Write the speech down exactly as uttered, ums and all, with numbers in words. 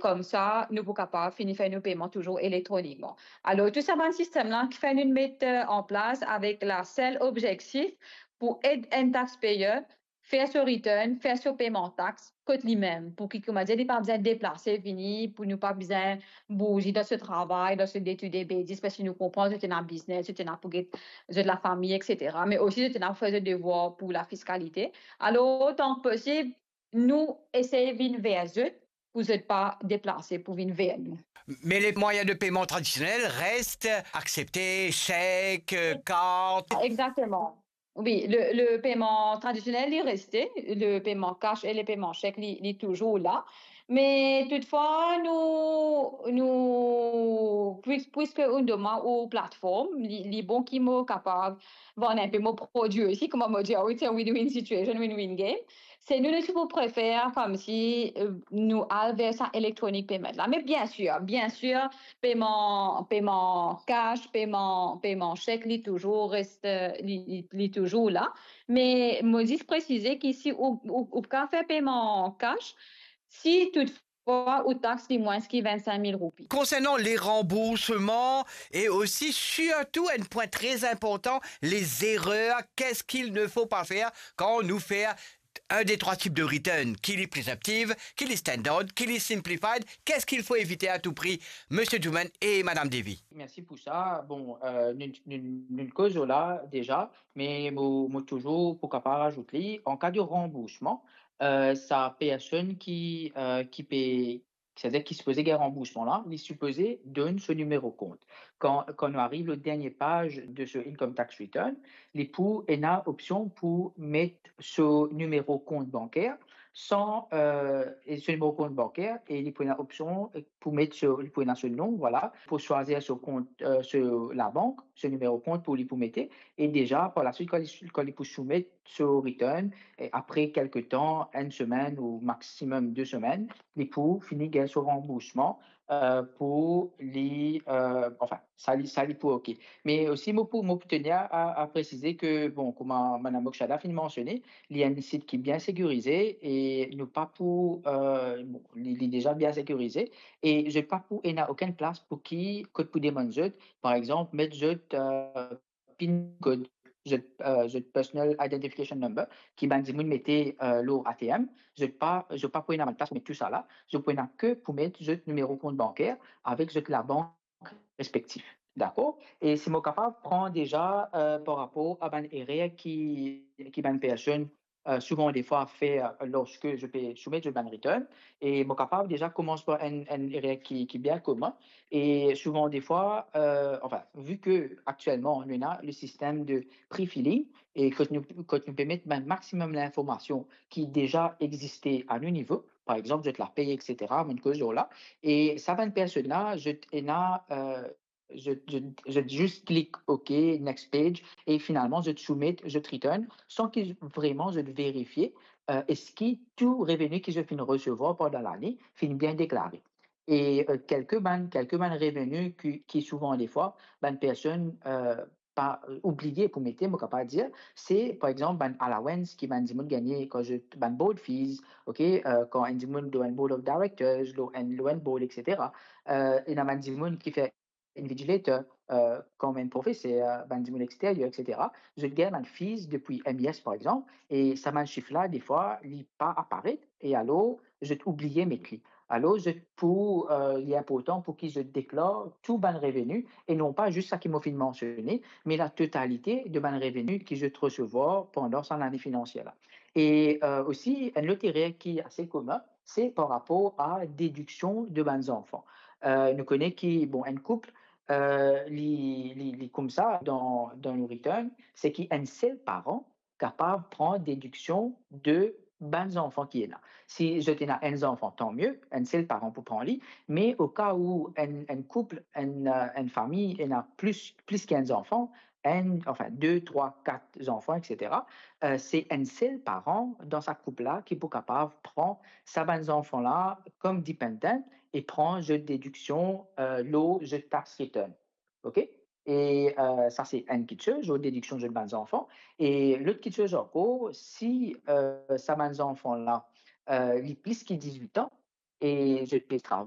Koumsa, nou pou kapav fini fer nou peyman touzour elektronikman. Alor, tou sa bann sistem la kifer nou met, eh, an plas avek la sel objektif pou ed enn taxpayer fer so return, fer so peyman tax kot limem, pou ki, koumadir, li pa bizin deplase vini, pou nou pa bizin bouze dan so travay, dan so day-to-day basis, parski nou konpran zot ena biznes, zot ena pou get zot lafami, et cetera. Me osi zot ena pou fer zot devwar pou lafiskalite. Alor, otan ki posib, nou esey vinn ver zot pou zot pa deplase pou vinn ver nou. Mais les moyens de paiement traditionnels restent acceptés, chèque, euh, carte. Exactement. Wi, le, le peyman tradisionel, li reste, le peyman cash e le peyman chek, li, li touzour la. Me toutfwa, nou, nou, pwis-, pwiske nou demann ou platform, li, li bon ki mo kapav vann enpe mo prodwi osi, kouma mo dir, ah wi, it's a win-win situation, win-win game. Se nou, nou ti pou prefer koumsi, eh, nou al ver sa electronic payment la. Me bien sir, bien sir, peyman, peyman cash, peyman, peyman chek, li touzour reste, li, li, li touzour la. Me mo zis presize ki si ou, ou, ou kapav fer peyman cash, si toutfwa ou tax li mwins ki vinn-sink mil roupi. Concernant les remboursements et aussi, surtout, un point très important, les erreurs, qu'est-ce qu'il ne faut pas faire quand on nous fait un des trois types de return, ki li presumptive, ki li standard, ki li simplified, qu'est-ce qu'il faut éviter à tout prix, Monsieur Juman et Madame Devi? Mersi pou sa. Bon, euh, nou, nou, nou koz la deza, me mo, mo touzour pou kapav razout li. An ka de ranboursman, euh, sa personn ki, euh, ki pe, setadir ki sipoze gagn ranboursman la, li sipoze donn so nimero kont. Kan, kan nou ariv lor dernie paz de so income tax return, li pou ena opsion pou met so nimero kont banker, san, euh, e so nimero kont banker, e li pou ena opsion pou met so, li pou ena so nom, vwala, pou swazir so kont, euh, so labank, so nimero kont pou li pou mete, e deza, par laswit, kan li, kan li pou soumet so return, e apre kelke tan, enn semenn ou maximum de semenn, li pou fini gagn so ranboursman, euh, pou li, euh, anfin, sa li, sa li pou ok. Me osi, mo pou, mo pou tenir a, a presize ke, bon, kouma Madame Mokshada finn mansione, li enn sit ki bien sekirize e nou pa pou, euh, bon, li, li deza bien sekirize e zot pa pou ena okenn plas pou ki, kot pou demann zot, par exanp, met zot, euh, pin code, zot, euh, zot personal identification number, ki bann dimoun mete, euh, lor A T M, zot pa, zot pa pou ena bann plas pou met tou sa la, zot pou ena ke pou met zot nimero kont banker avek zot labank respektif. Dakor? E si mo kapav pran deza, euh, par rapor a bann erer ki, ki bann personn, euh, souvan defwa fer, euh, lorske zot pe soumet zot bann return, e mo kapav deza koumans par enn, enn erer ki, ki bien komin, e souvan defwa, euh, anfin, vi ke aktielman nou ena le sistem de pre-filling, e kot nou, kot nou pe met bann maximum linformasion ki deza existe a nou nivo, par exanp, zot lapey, et cetera, mo koz lor la, e sa bann personn la, zot ena, euh, zot, zot, zot zis klik OK, next page, e finalman zot soumet zot return san ki vreman zot verifie, euh, eski tou reveni ki zot finn resevwar pandan lane finn bien deklare. E, euh, kelke bann, kelke bann reveni ki, ki souvan defwa bann personn, euh, pa, euh, oubliye pou mete, mo kapav dir, se par exanp bann allowance ki bann dimoun gagne kan zot, bann board fees, ok, euh, kan enn dimoun lor enn board of directors, lor enn, lor enn board, et cetera. Euh, ena bann dimoun ki fer invigilator, euh, kouma enn profeser, bann dimoun exteryer, et cetera. Zot gagn bann fees depi M I S, par exanp, e sa bann sif la, defwa, li pa aparet, e alor, zot oubliye met li. Alor, zot pou, euh, li inportan pou ki zot deklar tou bann reveni, e non pa zis sa ki mo finn mansione, me la totalite de bann reveni ki zot resevwar pandan sa lane finansier la. E, euh, osi, enn lot erer ki ase komin, se par rapor a dediksion de bann zanfan. Euh, nou kone ki, bon, enn koup, euh, li, li, li koumsa dan, dan nou return, se ki enn sel paran kapav pran dediksion de bann zanfan ki ena. Si zot ena enn zanfan, tan mie, enn sel paran pou pran li, me oka ou enn, enn koup, enn, euh, enn fami ena plis, plis ki enn zanfan, enn, anfin, de, trwa, kat zanfan, et cetera, euh, se enn sel paran dan sa koup la ki pou kapav pran sa bann zanfan la kom dependent e pran zot dediksion, euh, lor zot tax return. Ok? E, euh, sa se enn kitsoz, zot dediksion zot bann zanfan. E lot kitsoz ankor, si, euh, sa bann zanfan la, euh, li plis ki dizwit an, e zot pe travay.